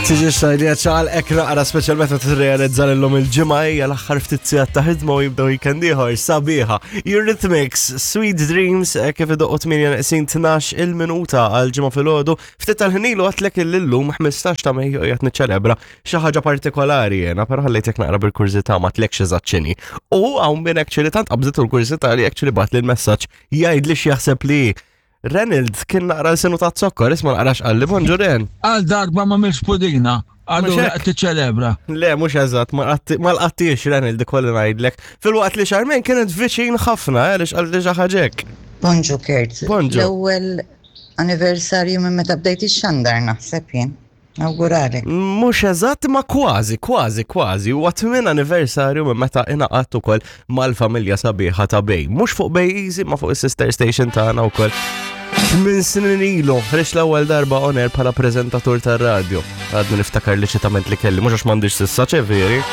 Tiġi xajli ċal ek naqra speċjal meta tirrealizza l-lum il-ġimgħa hija l-aħħar ftit sigħat ta' ħidma u jibdew weekend ieħor sabiħa. Eurythmics, Sweet Dreams, eh, kif idoqqu 8 neqsin 12 il-minuta għal ġimgħa filgħodu. Ftit tal-ħin ilu għatlek illum 15 ta' Mejju qiegħed niċċelebra xi ħaġa partikolari jiena, però ħallejtek naqra bil-kurżità ma tlekx eżatt x'inhi. U hawn min actually tant qabżitu l-kurżità li actually bat li l-messaġġ jgħidli x'jaħseb li Reynold kien naqra l-sinu ta' zokkor, isma naqrax qalli, bonġu Ren. Għal darba ma milx pudina, allura qed tiċċelebra. Le, mhux eżatt, ma lqattix Reynold ikolli ngħidlek. Filwaqt li Charmaine kienet viċin ħafna, eh, għaliex qalli xi ħaġa Bonġu Kurt. Bonġu. L-ewwel anniversarju minn meta bdejt ix-xandar naħseb jien. Nawguralek. Mhux eżatt ma kważi, kważi, kważi. Huwa tmien anniversarju minn meta ingħaqadt ukoll mal-familja sabiħa ta' Bay. Mhux fuq Bay Easy ma fuq is-sister station tagħna wkoll. Tmien snin ilu, ħriġt l-ewwel darba on air bħala preżentatur tar-radju. Għadni niftakar li ċitament li kelli, mhux għax m'għandix sissa ċeveri.